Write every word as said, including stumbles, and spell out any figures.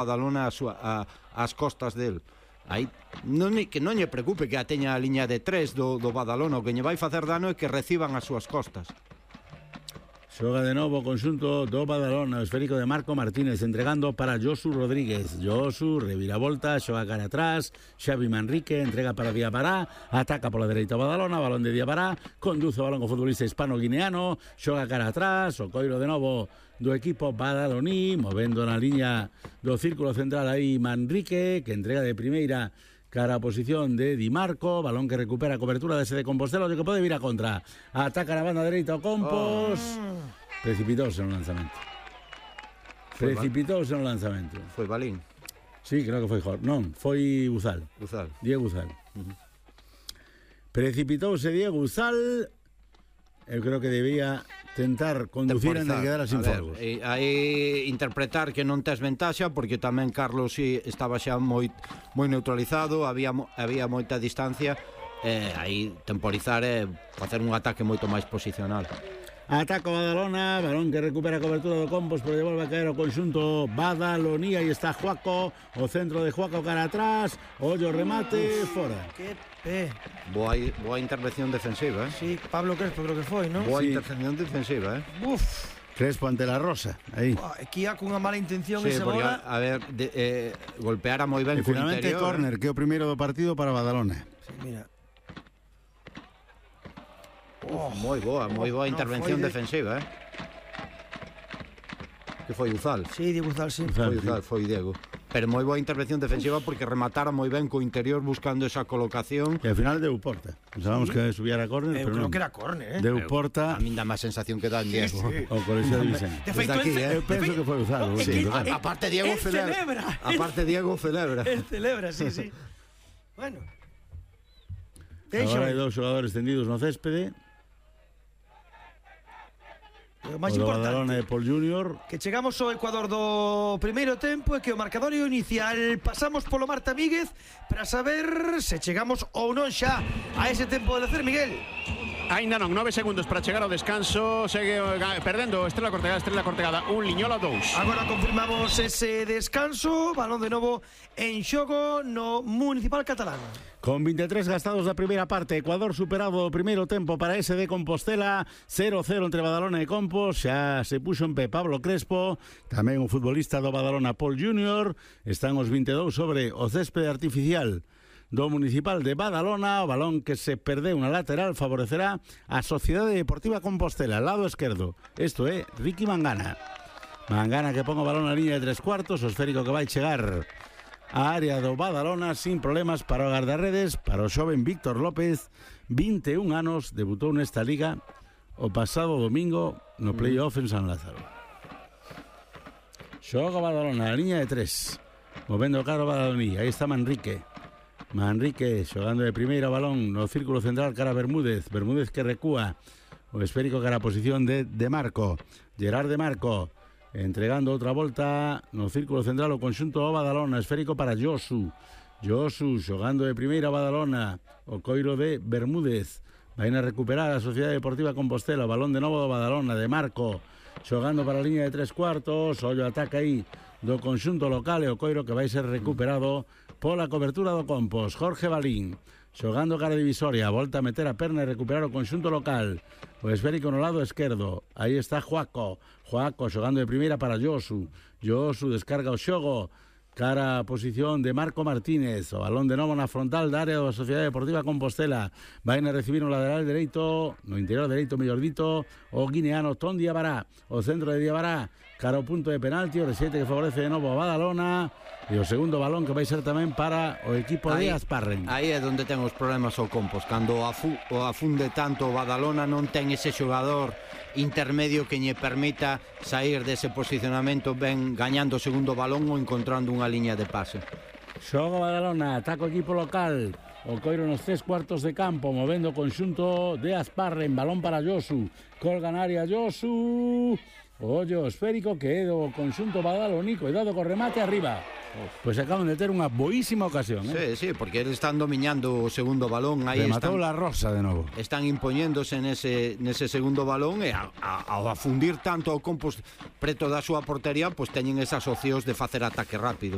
Badalona a súa, a, as costas del. Aí non, que non lle preocupe que a teña a liña de tres do, do Badalona. O que lle vai facer dano é que reciban as súas costas. Xoga de novo o conxunto do Badalona, o esférico de Marco Martínez entregando para Josu Rodríguez. Josu, reviravolta, xoga cara atrás, Xavi Manrique entrega para Diabará, ataca pola dereita o Badalona, balón de Diabará, conduce o balón o futbolista hispano-guineano, xoga cara atrás, o coiro de novo do equipo badaloní, movendo na liña do círculo central aí Manrique, que entrega de primeira cara a posición de Di Marco, balón que recupera a cobertura de ese de Compostela, o que pode vir a contra. Ataca na banda dereita o Compos. Oh. Precipitouse no lanzamento. Precipitouse no lanzamento. Foi Balín? Sí, creo que foi Jorge. Non, foi Uzal. Uzal. Diego Uzal. Uh-huh. Precipitouse Diego Uzal. Eu creo que debía tentar conducir en que quedara sin fogos. Aí interpretar que non tes ventaxa, porque tamén Carlos si estaba xa moi moi neutralizado, había había moita distancia, e aí temporizar e facer un ataque moito máis posicional. Ataca Badalona, balón que recupera a cobertura do Compos, pero devolve a caer o conxunto badaloní. Aí está Juaco, o centro de Juaco cara atrás, ollo remate, uf, fora. Que pé. Boa, boa intervención defensiva, eh? Sí, Pablo Crespo creo que foi, non? Boa sí. intervención defensiva, eh? Uf. Crespo ante la Rosa, aí. Aquí ha cunha mala intención sí, esa porque, bola. A ver, de, eh, golpeara moi ben e co finalmente interior. Córner, eh? que é o primeiro do partido para Badalona. Sí, mira. Oh, moi boa, moi boa no, intervención de... defensiva, eh? Que foi Uzal? Sí, Diego Uzal, sí. Foi Uzal, foi Diego. Pero moi boa intervención defensiva porque rematara moi ben co interior buscando esa colocación. E ao final deu porta. Pensábamos sí. que subía a córner, eh, pero creo non. que era córner, eh? Deu porta. A min dá máis sensación que dá en Diego. Sí, sí. O colegio de Vicente. De feito, aquí, eh? Eu penso que foi Uzal. Sí, aparte Diego celebra. celebra. Aparte Diego celebra. El celebra, sí, sí. Bueno. Agora hai dous xogadores tendidos no céspede. O máis o importante Badalona e Paul Junior. que chegamos ao Ecuador do primeiro tempo e que o marcadorio inicial pasamos polo Marta Míguez para saber se chegamos ou non xa a ese tempo de lecer, Miguel. Ainda non, nove segundos para chegar ao descanso. Segue perdendo Estrela Cortegada, Estrela Cortegada un, Liñola dous. Agora confirmamos ese descanso. Balón de novo en xogo no Municipal Catalán. Con vinte e tres gastados da primeira parte, Ecuador superado o primeiro tempo para ese de Compostela, cero cero entre Badalona e Compos. Xa se puxo en pé Pablo Crespo, tamén o futbolista do Badalona Paul Junior. Están os vinte e dous sobre o céspede artificial do Municipal de Badalona. O balón que se perdeu na lateral favorecerá a Sociedade Deportiva Compostela, lado esquerdo. Isto é Ricky Mangana. Mangana que pon o balón na liña de tres cuartos, o esférico que vai chegar a área do Badalona sin problemas para o guardarredes, para o xoven Víctor López, vinte e un anos, debutou nesta liga o pasado domingo no playoff en San Lázaro. Xoga Badalona na liña de tres, movendo o carro Badaloní. Aí está Manrique. Manrique xogando de primeira balón no círculo central cara a Bermúdez. Bermúdez que recúa, o esférico cara a posición de De Marco. Gerard De Marco entregando outra volta no círculo central o conxunto do Badalona, esférico para Josu. Josu xogando de primeira Badalona, o coiro de Bermúdez. Vai a recuperar a Sociedade Deportiva Compostela, o balón de novo do Badalona, De Marco xogando para a liña de tres cuartos. Ollo ataca aí do conxunto local e o coiro que vai ser recuperado pola cobertura do Compos. Jorge Balín xogando cara divisoria, volta a meter a perna e recuperar o conxunto local. O esférico no lado esquerdo. Aí está Juaco. Juaco xogando de primeira para Josu. Josu descarga o xogo cara a posición de Marco Martínez. O balón de novo na frontal da área da Sociedade Deportiva Compostela. Vai a recibir no lateral dereito, no interior dereito, mellor dito, o guineano Ton Diabará. O centro de Diabará cara ao punto de penalti, o resete que favorece de novo a Badalona. E o segundo balón que vai ser tamén para o equipo aí, de Asparren. Aí é onde ten os problemas o Compos. Cando afu, o afunde tanto o Badalona, non ten ese xogador intermedio que lle permita sair dese posicionamento ben gañando o segundo balón ou encontrando unha liña de pase. Xoga Badalona, ataca o equipo local. O coiro nos tres cuartos de campo, movendo o conxunto de Asparren. Balón para Josu, colga na área Josu. Ollo esférico que é do conxunto badaloní. Cuidado co remate arriba. Pois pues acaban de ter unha boísima ocasión, Sí, eh? sí, porque eles están dominando o segundo balón. Aí rematou están, la Rosa de novo. Están impoñéndose nese, nese segundo balón e a, a, ao afundir tanto o Compos preto da súa portería, pois pues teñen esas opcións de facer ataque rápido.